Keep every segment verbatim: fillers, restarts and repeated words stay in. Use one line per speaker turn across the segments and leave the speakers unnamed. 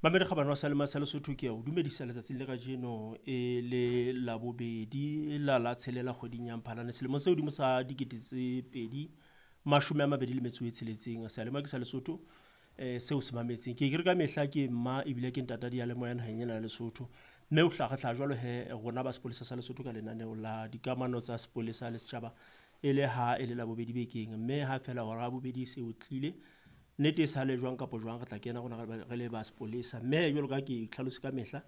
Mamedi kgabane wa Salema sa Lesotho, ke a o dumedisa letsatsing le kajeno e le Labobedi la la tshelela kgweding ya Mphalane selemong se hodimo sa dikete tse pedi mashome a mabedi le metso e tsheletseng. Seyalemoya ke sa Lesotho eh seo se mametseng. Ke ke re ka mehla ke mma ebile ke ntata diyalemoya naheng ena ya Lesotho. Mme o hlaha re hlaha jwalo he rona ba sepolesa sa Lesotho ka lenaneo la dikamano tsa sepolesa le setjhaba e le ha e le Labobedi bekeng. Mme ha feela hora ya bobedi se o tlile nnete e sale jwang kapa jwang re tla kena rona re le ba sepolesa. Mme jwalo ka ke tlhalose ka mehla,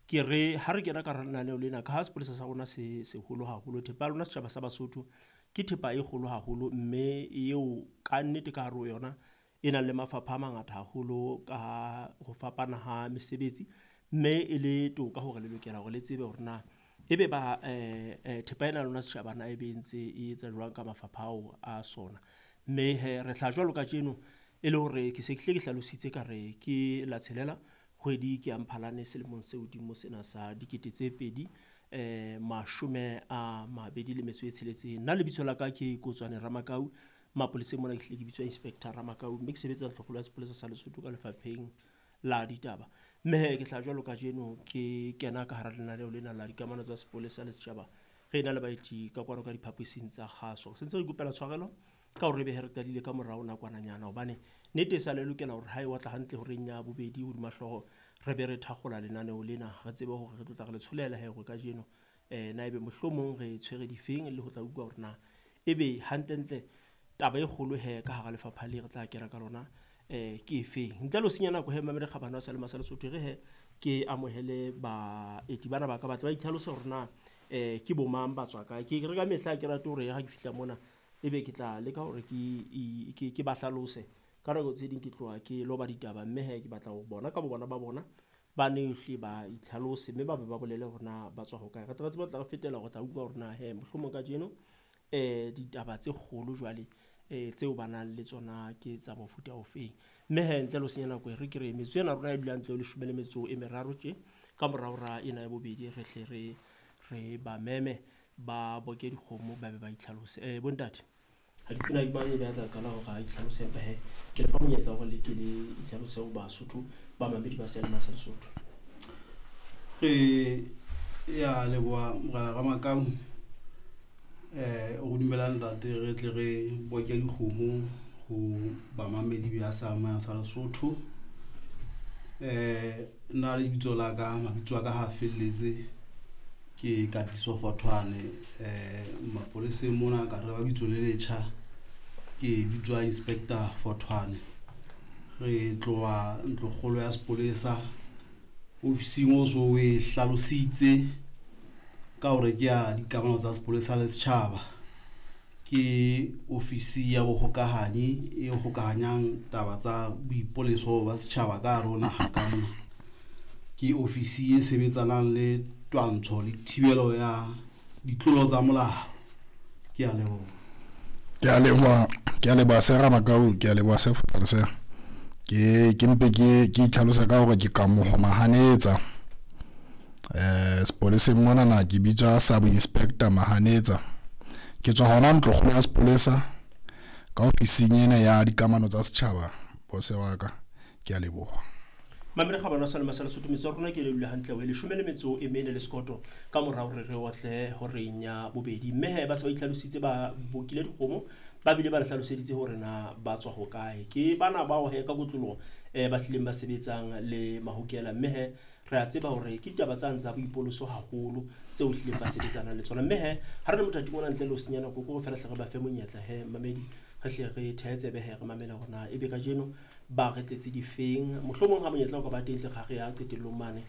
ke re ha re kena ka hara lenaneo lena, ka ha sepolesa sa rona se seholo haholo, thepa ya lona setjhaba sa Basotho ke thepa e kgolo haholo mme eo ka nnete ka hare ho yona e nang le mafapha a mangata haholo ka ho fapana ha mesebetsi. Mme e le toka hore le lokela hore le tsebe hore na ebe ba thepa ena ya lona setjhaba na ebe e ntse e etsa jwang ka mafapha ao a sona. Mme hee re hlaha jwalo kajeno e le hore ke se ke hlile ke hlalositse ka re ke la tshelela kgwedi ke ya Mphalane selemong se hodimo sena sa dikete tse pedi eh mashome a mabedi le metso e tsheletseng. Nna lebitso la ka ke Kotswane Ramakau, mapoleseng mona ke hlile ke bitswa Inspector Ramakau, mme ke sebetsa Ntlokgolo ya Sepolesa sa Lesotho ka lefapheng la ditaba. Mme hee ke tla jwalo kajeno ke kena ka hara lenaneo lena la dikamano tsa sepolesa le setjhaba. Re na le baeti ka kwano ka diphaposing tsa kgaso. Se ntse re ikopela tshwarelo ka hore ebe he re qadile ka morao nakwananyana hobane nnete e sa le lokela hore ha e otla hantle horeng ya bobedi hodima hlooho re be re thakgola lenaneo lena, re tsebe hore re tlo tla re le tsholela he hore kajeno eh na ebe mohlomong re tshwere difeng le ho tla utlwa hore na ebe hantlentle taba e kgolo he ka hara lefapha le re tla kena ka lona eh ke efeng. Ntle le ho senya nako he mamedi kgabane wa Salema sa Lesotho, re he ke amohele baeti bana ba ka ba tle ba itlhalose hore na eh ke bo mang, ba tswa kae. Ke re ka mehla ke rate hore ha ke fihla mona ebe ke tla leka hore ke ke ke ba hlalose. Ka nako tse ding ke tloha ke loba ditaba, mme he ke batla ho bona ka bo bona ba bona ba ne hle ba itlhalose mme ba be ba bolele hore na ba tswa hokae. Re tle re tsebe ho tla re fetela hore tla utlwa hore na he mohlomong kajeno eh ditaba tse kgolo jwale eh tseo ba nang le tsona ke tsa mofuta ofeng. Mme he ntle le ho senya nako e re ke re metsotso ena rona e dulang ntle ho leshome le metso e meraro tje ka morao hora ena ya bobedi re hle re re ba meme ba boke dikgomo ba be ba itlhalose. Eh bontate, ha ke tsebe na ke mang ebe a tla qala hore a itlhalose, empa he ke le fa monyetla hore le ke le itlhalose ho Basotho ba mamedi ba Seyalemoya sa Lesotho.
Re ya leboha Morena Ramakau, eh o dumela ntate re tle re boke dikgomo ho bamamedi ba Seyalemoya sa Lesotho. Eh nna lebitso la ka, mabitso a ka ha felletse ke Katiso Fothwane, eh mapoleseng mona ka re ba bitso le letjha ke bitswa Inspector Fothwane. Re tloha ntlokgolo ya sepolesa ofising o so e hlalositse ka hore ke ya dikamano tsa sepolesa le setjhaba. Ke ofisi ya bohokahanyi e hokahanyang taba tsa boipoleso ba setjhaba ka hare ho naha ka mona. Ke ofisi e sebetsanang le twantsho le thibelo ya ditlolo tsa molao. Ke a leboha.
Ke a leboha, ke a leboha Sir Ramakau, ke a leboha Sir Fothwane sir. Ke ke mpe ke ke itlhalosa ka hore ke Kamoho Mahanetsa. Eh sepoleseng mona na ke bitswa Sub Inspector Mahanetsa. Ke tswa hona ntlokgolo ya sepolesa ka ofising ena ya dikamano tsa setjhaba, bose wa ka. Ke a leboha.
Mamedi kgabane wa Salema sa Lesotho, metso ya rona ke le dula hantle ho e leshome le metso e mene le sekoto ka mora hore re otle horeng ya bobedi. Mme he ba se ba itlhalositse, ba bokile dikgomo, ba bile ba le hlaloseditse hore na ba tswa hokae. Ke bana bao he ka kotloloho eh ba hlileng ba sebetsang le mahokela, mme he re a tseba hore ke ditaba tsane tsa boipoloso haholo tseo hlileng ba sebetsanang le tsona. Mme he ha re le mothating ona ntle le ho senya nako, ke hore feela hle re ba fe monyetla he mamedi, re hle re thehe tsebe he re mamele hore na ebe kajeno ba re tletse difeng. Mohlomong ha monyetla o ka ba teng tle ga re ya qetellong mane